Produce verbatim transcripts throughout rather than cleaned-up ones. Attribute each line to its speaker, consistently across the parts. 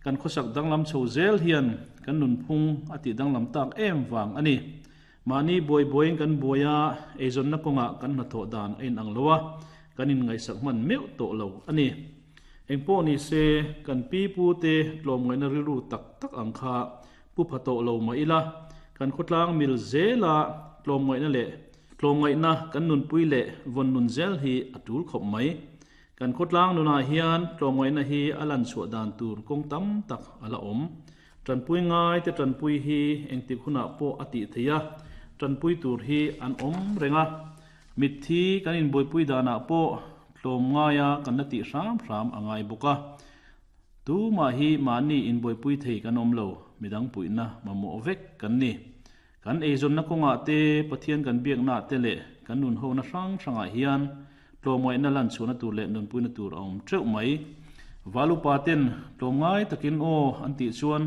Speaker 1: Kan khawsak danglam chho zel hian kan nunphung a tih danglam tak em vang a ni. Mahni buai buaiin kan buai a, eizawnna kawngah kan hnathawh dan a inang lo a, kan inngaihsak hman meuh tawh lo a ni. Engpawh ni se, kan pi pu te tlawmngaihna rilru tak tak ang kha pu pha tawh lo mah ila, kan khawtlang mil zela tlawmngaihna leh tlawmngaihna kan nunpui leh vawn nun zel hi a tul khawp mai. Kan khawtlang nunah hian tlawmngaihna hi a lan chhuah dan tur kawng tam tak a la awm. Tanpui ngai te tanpui hi engtik hunah pawh a tih theih a, tanpui tur hi an awm reng a. Mitthi kan inbuaipui danah pawh tlawmngaia kan la tih hram hram a ngai bawk a. Tumah hi mahni inbuaipui thei kan awm lo, midang puihna mamawh vek kan ni. Kan eizawnna kawngah te, Pathian kan biaknaah te leh kan nunhona hrang hrangah hian tlawmngaihna lan chhuahna tur leh nunpuina tur a awm teuh mai. Valupa ten tlawmngai takin aw an tih chuan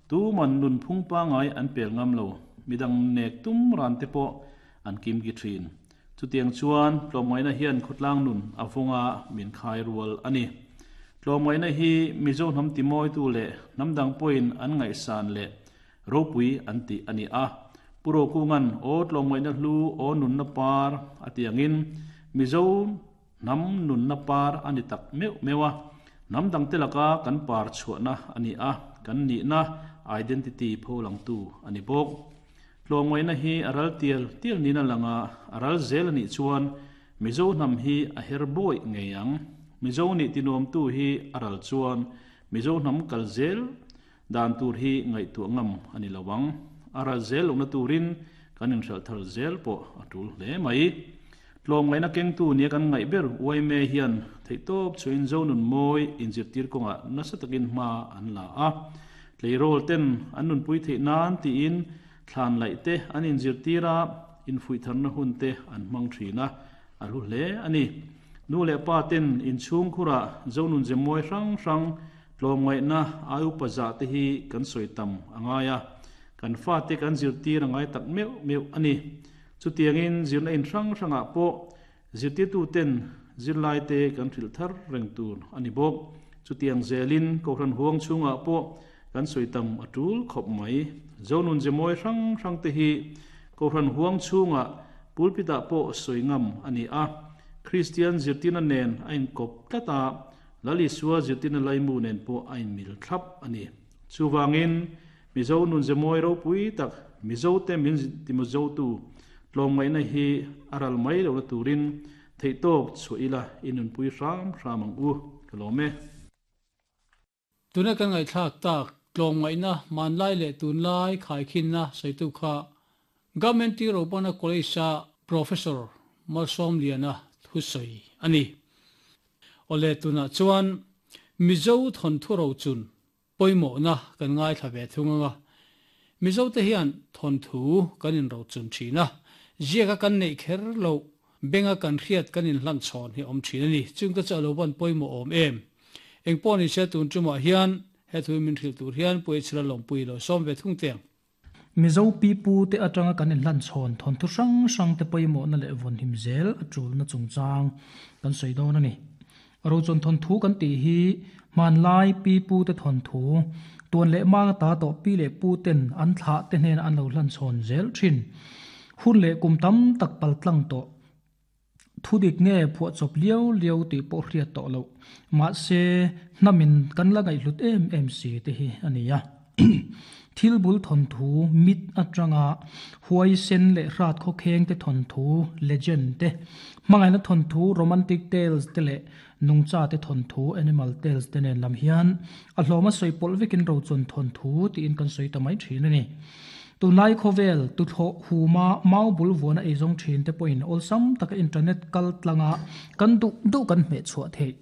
Speaker 1: tuman nunphung pangai an pel ngam lo, midang nek tum ran te pawh an kim ki thin. Chutiang chuan tlawmngaihna hian khawtlang nun a vawnga min khai rual a ni. Tlawmngaihna hi Mizo hnam timawitu leh hnam dang pawhin an ngaihsan leh ropui an tih a ni a. Pu Rokungan aw tlawmngaihna hlu aw nunna par a ti angin Mizo hnam nunna par a ni tak meuh meuh a. Hnam dangte laka kan par chhuahna a ni a, kan nihna identity pholangtu a ni bawk. Tlawmngaihna hi a ral tial tial niin a lang a, a ral zel a nih chuan Mizo hnam hi a her bawi ngei ang. Mizo nih tinuamtu hi a ral chuan Mizo hnam kal zel dan tur hi ngaihtuah ngam a ni lo ang. A ral zel lohna turin kan inhralh thar zel pawh a tul hle mai. Tlawmngaihna kengtu nia kan ngaih ber U I M A hian theihtawp chhuahin Zo nun mawi inzirtir kawngah nasa takin hma an la a. Tleirawl ten an nunpui theih nan tiin thlan laih te an inzirtir a, infuihtharna hun te an hmang thin a, a hlu hle a ni. Nu leh pa ten inchhung khurah Zo nun ze mawi hrang hrang tlawmngaihna ai upa zah te hi kan sawi tam a ngai a, kan fa te kan zirtir a ngai tak meuh meuh a ni. Chutiangin zirna in hrang hrangah pawh zirtirtu ten zirlai te kan hrilh thar reng tur a ni bawk. Chutiang zelin kohhran huang chhungah pawh kan sawi tam a tul khawp mai. Zo nun ze mawi hrang hrang te hi kohhran huang chhungah pulpitah pawh sawi ngam a ni a. Kristian zirtirna nen a inkawp tlat a, Lal Isua zirtirna laimu nen pawh a inmil thlap a ni. Chuvangin Mizo nun ze mawi ropui tak Mizo te min timizotu tlawmngaihna hi a ral mai lohna turin theihtawp chhuah ila i nunpui hram hram ang u. Ka lawm e.
Speaker 2: Tuna kan ngaihthlak tak tlawmngaihna hmanlai leh tunlai khaikhinna sawitu kha Government Ropana College-a Professor Malsawmliana thusawi a ni. Awle tunah chuan Mizo thawnthu rochun pawimawhna kan ngaithla ve thung anga. Mizo te hian thawnthu kan inrochun thin a, ziaka kan neih kher lo benga kan hriat kan inhlan chhawn hi awm thin a ni. Chung te chu a lo van pawimawh awm em. Engpawh ni se tun tumah hian he thu min hrilh tur hian Puichhira lawmpui lo sawm ve thung teng.
Speaker 3: Mizo pi pu te atanga kan inhlan chhawn thawnthu hrang hrang te pawimawhna leh vawn him zel a tulna chungchang kan sawi dawn a ni. Rochun thawnthu kan tih hi hmanlai pi pu te thawnthu tuan leh mang ta tawh pi leh pu ten an thlah te hnena an lo hlan chhawn zel thin. Hun leh kum tam tak paltlang tawh thu dik nge phuah chawp liau liau tih pawh hriat tawh loh. Mahse hnamin kan la ngaihhlut em em si te hi a ni a. Thil bul thawnthu mit atanga huai sen leh hrat khawkheng te thawnthu legend te, hmangaihna thawnthu romantic tales te leh nungcha te thawnthu animal tales te nen lam hian a hlawma sawi pawlh vekin rochun thawnthu tiin kan sawi ta mai thin a ni. Tunlai khawvel tuthlawh huma mau bul vuana eizawng thin te pawhin awlsam taka internet kal tlanga kan duh duh kan hmeh chhuah theih.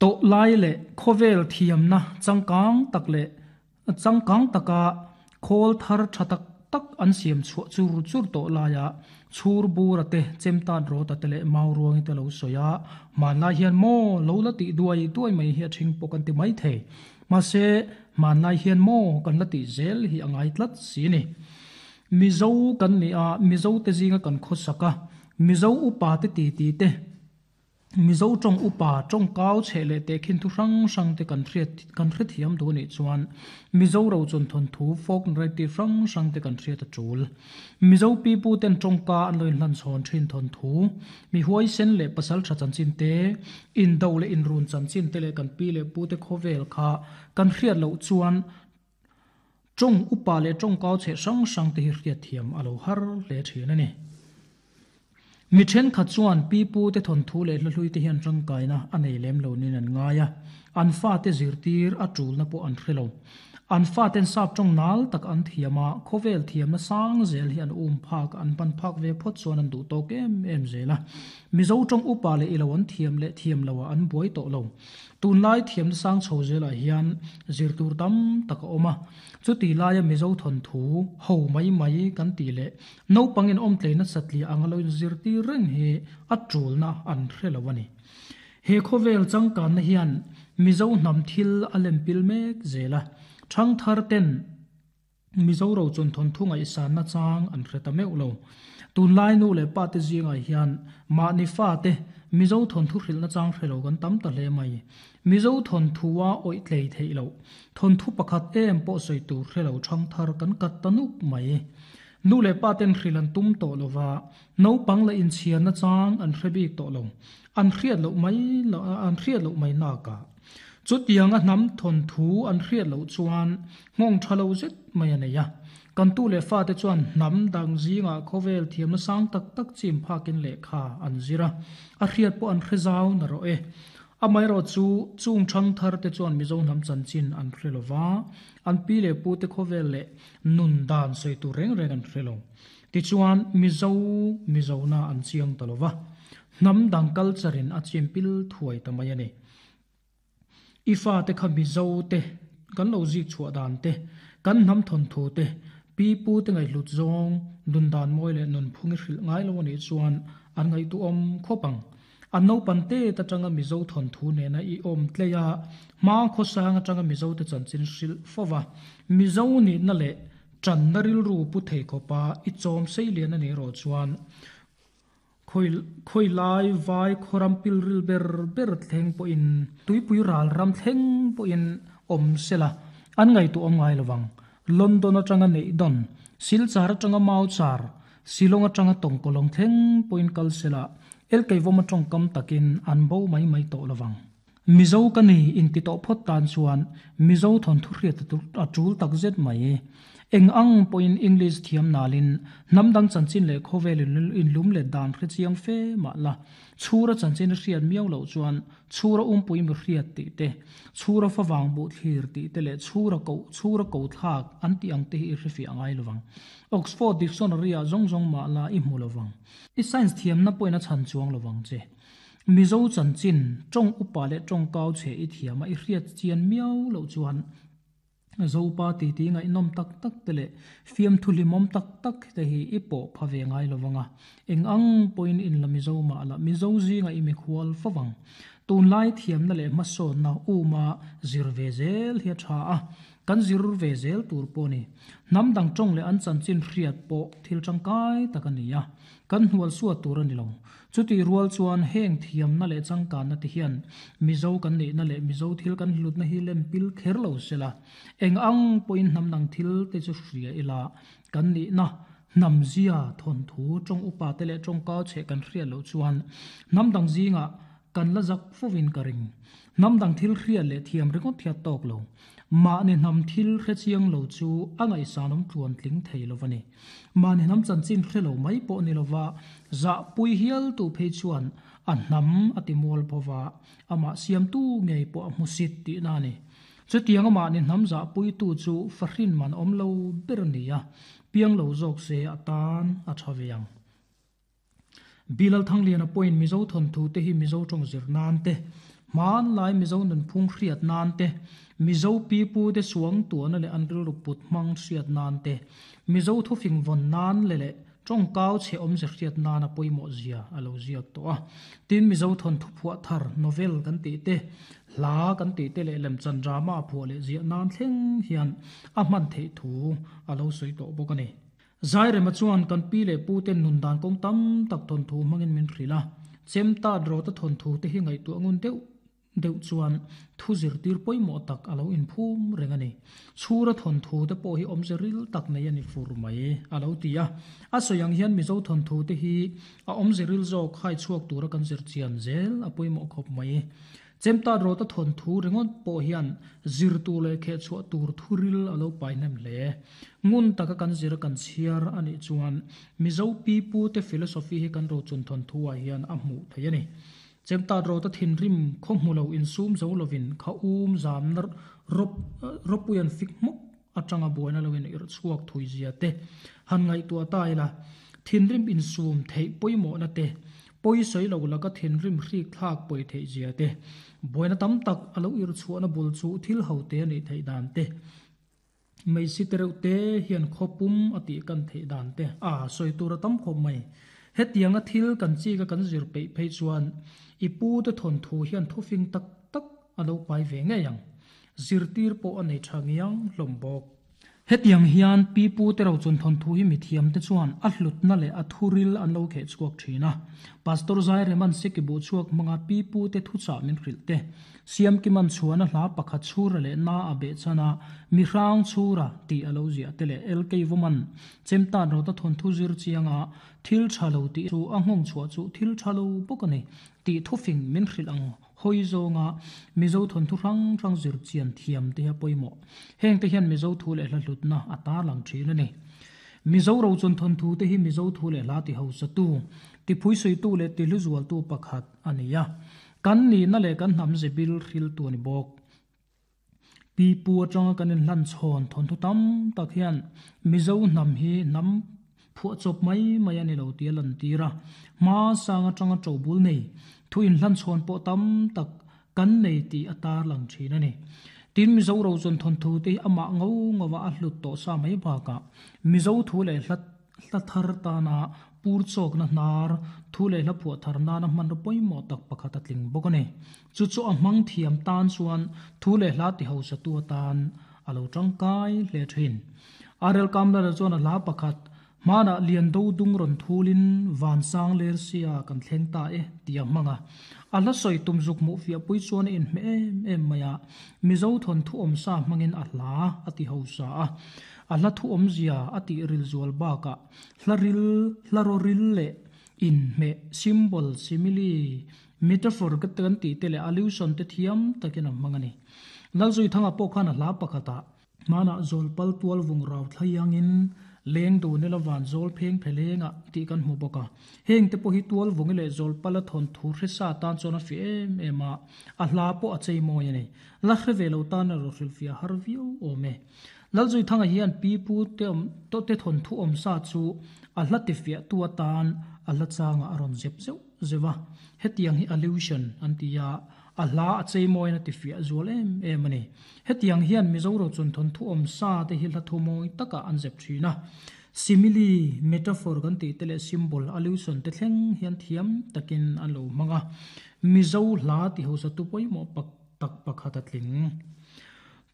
Speaker 3: Tawh lai leh khawvel thiamna changkang tak leh changkang taka khawl thar tha tak tak an siam chhuah chur chur tawh laia chhur bura te chemtan rawta te leh mau ruangi te lo sawi a, hmanlai hian maw lo la tih duai duai mai hi a thing pawh kan ti mai thei. Mahse hmanlai hian maw kan la tih zel hi a ngai tlat si ni. Mizo kan ni a, Mizo te zinga kan khawsak a, Mizo upa te ti ti te Mizo tong upa tong kau chele te khin thu hrang hrang te kan thriat kan thre thiam du ni chuan Mizo ro chon thon thu folk narrative hrang hrang te kan thriat a tul Mizo pi pu ten tong ka an loin hlan chon thin thon thu mi huai sen le pasal tha chan chin te in do le in run chan chin te le kan pi le pu te khovel kha kan thriat lo chuan tong upa le tong kau che hrang hrang te hi hriat thiam alo har le thin ani. Mi then kha chuan pi pu te thon thu le hlui te hian tangkai na anei lem lo nin an ngaia an fa te zirtir a tul na po an threlo an fa ten sap tong nal tak an thiama khovel thiam na sang zel hi an um phak an pan phak ve phot chuan an du to kem em zela Mizo tong upa le ilo an thiam le thiam lo an buai to lo tun lai thiam sang chho zela hian zirtur tam tak oma chu ti laia Mizo thon thu ho mai mai kan ti le no pangin om tleina satli angalo zirtir reng he a tul na an threlo ani he khovel changkan na hian Mizo nam thil alem pil mek zela thang thar ten Mizo ro chon thon thunga isan na chang an hreta meu lo tun lai nu le pa te zinga hian ma ni fa te Mizo thon thu hril na chang hrelo kan tam ta hle mai Mizo thon thuwa oi tlei thei lo thon thu pakhat em po soi tur hrelo thang thar kan kat tanuk mai nu le pa ten hrilan tum to lova no pang la in chian na chang an hrebik to lo an hriat lo mai lo an hriat lo mai na ka chu tiang a nam thon thu an hriat lo chuan ngong thalo zet mai ani ya kan tu le fa te chuan nam dang zinga khovel thiam na sang tak tak chim phakin le kha an zira a hriat po an hrezau na ro e amai ro chu chung thang thar te chuan Mizo nam chan chin an hrelova an pi le pu te khovel le nun dan sei tu reng reng an hrelo ti chuan Mizo Mizo na an chiang talova nam dang culture in a chimpil thuai tamai ani ifa te kha Mizo te kan lo zik chhuah dan te kan nam thon thu te pi pu te ngai hlut zawng nun dan moi le nun phungi hril ngai lo ani chuan an ngai tu om khopang an no pan te ta tanga Mizo thon thu ne na i om tleya ma kho sang atanga Mizo te chan chin hril fowa Mizo ni na le chan na ril ru pu thei khopa i chom sei lian ani ro chuan khoi khoi lai vai khoram pil ril ber ber thleng po in tuipui ral ram thleng po in om sela an ngai tu om ngai lowang London atanga nei don Silchar atanga mau char Silong atanga tongkolong thleng po in kal sela el keivom atong kam takin an bo mai mai to lowang Mizo kani in ti to phot tan chuan Mizo thon thu hriat tu atul takzet mai eng ang point English thiam nalin namdang chanchin le khovel in lum le dan khre chiang fe ma la chura chanchin hriat miau lo chuan chura um pui mi hriat ti te chura fa wang bu thlir ti te le chura ko chura ko thak an ti ang te hi hrifi angai lowang Oxford Dictionary a zong zong ma la i hmu lowang i science thiam na poina chan chuang lowang che Mizo chanchin tong upa le tong kau che i thiama i hriat chian miau lo chuan zopa ti ti ngai nom tak tak te le fiam thuli mom tak tak te hi ipo phave ngai lowanga eng ang point in la Mizo ma la Mizo zi nga imi khwal fawang tun lai thiam na le ma so na uma zir ve zel hi tha a kan zir ve zel tur po ni nam dang tong le an chan chin hriat po thil tangkai takania kan hnual suwa tur ani lo chuti rual chuan heng thiam na le changkan na ti hian Mizo kan nei na le Mizo thil kan hlut na hi lem pil kher lo sela eng ang point nam nang thil te chu hria ila kan ni na nam zia thon thu tong upa te le tong ka che kan hria lo chuan nam dang zinga kan la zak fowin karing nam dang thil hria le thiam ringot thia tok lo ma ni nam thil hre chiang lo chu angai sanom tluan tling thei lovani ma ni nam chan chin hre lo mai po ni lova za pui hial tu phei chuan a nam atimol phowa ama siam tu ngei po a musit ti na ni chu tiang ma ni nam za pui tu chu fahrin man om lo ber nia piang lo jok se atan a thawiang Bilal Thanglian a point Mizo thon thu te hi Mizo tong zir nan te man lai Mizo nun phung hriat nan te Mizo pi pu te suang tuan le an ril put mang hriat nan te Mizo thu fing von nan le le tong kau che om ze hriat nan a poimo zia alo ziak to a tin Mizo thon thu phua thar novel kan ti te hla kan ti te le lem chan drama phu le zia nan thleng hian a man thei thu alo soi to bokani zai rema chuan kan pi le pu ten nun dan kong tam tak thon thu mangin min thrila Chemta ro ta thon thu te hi ngai tu angun deuh deuh chuan thu zir tir poimo tak alo in phum rengani chhura thon thu te pawh hi awm zeril tak nei ani fur mai alo tia a soyang hian mizo thon thu te hi a awm zeril zawk khai chuak tura kan zir chian zel a poimo khop mai chemta ro ta thon thu ringot pawh hian zir tu le khe chhuah tur thuril alo pai nem hle ngun taka kan zir kan chhiar ani chuan mizo pi pu te philosophy hi kan ro chun thon thu ah hian a hmu thei ani chemta ro ta thin rim kho hmulo in sum zo lovin kha um zam nar rop ropuyan fik muk atanga buaina lovin ir chuak thui zia te han ngai tu ta ila thin rim in sum thei poimo na te poi soi lo la ka thin rim hrik thak poi thei zia te buaina tam tak alo ir chuana bul chu thil ho te ani thei dan te mei si tereu te hian khopum ati kan thei dan te a soi tur tam khop mai hetianga thil kan chi ka kan zir pe phei chuan ipu te thon thu hian thufing tak tak alo pai ve nge yang zirtir po anei thangiang hlombok hetiang hian pi pu te ro chun thon thu hi mi thiam te chuan a hlut na le a thuril an lo khe chuak thina pastor zai reman se ki bu chuak manga pi pu te thu cha min hril te siam ki man chuan a hla pakhat chura le na a be chana mi hrang chura ti alo zia te le lk woman chemta ro ta thon thu zir chianga thil thalo ti chu a ngong chua chu thil thalo bokani ti thufing min hril ang hoi zonga mizo thon thu rang rang zir chian thiam te ha poimo heng te hian mizo thu le hla hlut na ata lang thin ani mizo ro chun thon thu te hi mizo thu le hla ti ho sa tu ti phui sui tu le ti lu zual tu pakhat ania kan ni na le kan nam zebil hril tu ani bok pi pu atanga kanin hlan chhon thon thu tam tak hian mizo nam hi nam phuah chawp mai mai ani lo ti lan tira ma sanga tanga chobul nei thu in hlan chhon pawh tam tak kan nei ti atar lang thin ani tin mizo ro chon thon thu te ama ngo ngawa a hlut to sa mai baka mizo thu le hlat hla thar ta na pur chok na hnar thu le hla phuah thar na na man ro poimo tak pakhat a tling bawk ani chu chu a hmang thiam tan chuan thu le hla ti ho sa tu tan alo tangkai hle thin arel kamla chuan a hla pakhat mana lian do dung ron thulin van sang ler sia kan thleng ta e tia manga ala soi tum zuk mu fia pui chuan in me em em maya mizo thon thu om sa mangin a hla ati ho sa a ala thu om zia ati ril zual ba ka hlaril hlaroril le in me symbol simile metaphor ka tan ti te le allusion te thiam takin mangani lalzui thanga pawh khan a hla pakhata mana zolpal tual vung rau thlayangin leng du nela van zol pheng phelenga ti kan hmu boka heng te pawh hi tual vung le zol pala thon thu hre sa tan chuan a fi em em a a hla pawh a chei mawi ani la hre ve lo tan a ro hril fia har viau awm e lalzui thanga hian pi pu te awm to te thon thu awm sa chu a hla ti fiah tu atan a hla changa a rawn zep zeuh zewa hetiang hi allusion an ti a a hla a chei mawi na ti fiah zual em em ani hetiang hian mizo ro chun thon thu awm sa te hi hla thu mawi taka an zep thina simile metaphor kan ti te le symbol allusion te thleng hian thiam takin an lo hmanga mizo hla ti ho sa tu pawimawh pak tak pakhat a tling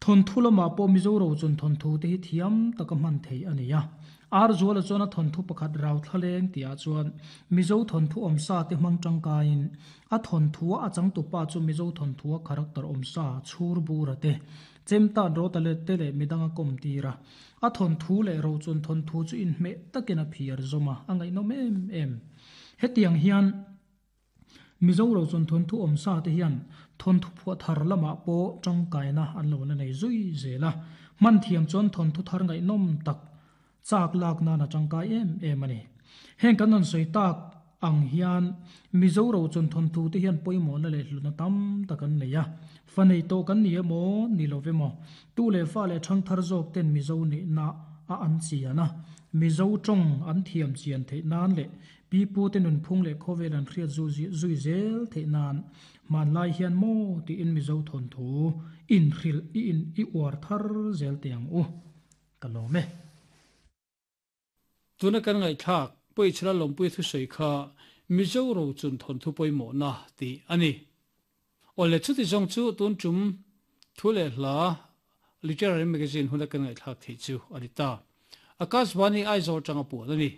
Speaker 3: thon thu lama pawh mizo ro chun thon thu te hi thiam taka hman thei ani a ar zuala chuan a thon thu pakhat rau thlaleng tia chuan mizo thon thu awm sa te hmang tangkain a thon thu a chang tu pa chu mizo thon thu a character awm sa chhur bura te chemta ro ta le te le midanga kom tira a thon thu le ro chun thon thu chu in hme takin a phiar zoma angai nom em em hetiang hian mizo ro chun thon thu awm sa te hian thon thu phuah thar lama pawh tangkaina an lo na nei zui zela man thiam chuan thon thu thar ngai nom tak chak lak na na tangkai em em ani heng kan an soi tak ang hian mizo ro chun thon thu te hian pawimawh na le hluna tam tak an nei a fanei to kan ni emaw ni lo vemaw tu le fa le thang thar zawk ten mizo ni na a an chiana mizo tawng an thiam chian thei nan le pi pu te nun phung le khawvel an hriat zu zui zel thei nan man lai hian mo ti in mizo thon thu in hril i in i uar thar zel tiang u kalome
Speaker 2: tuna kan ngai thak poi chla lompui thu sei kha mizo ro chun thon thu pawimawh na ti ani ole chu ti jong chu tun chum thu le hla literary magazine huna kan ngai thak thei chu ani ta Akashvani Aizawl tanga pu ani.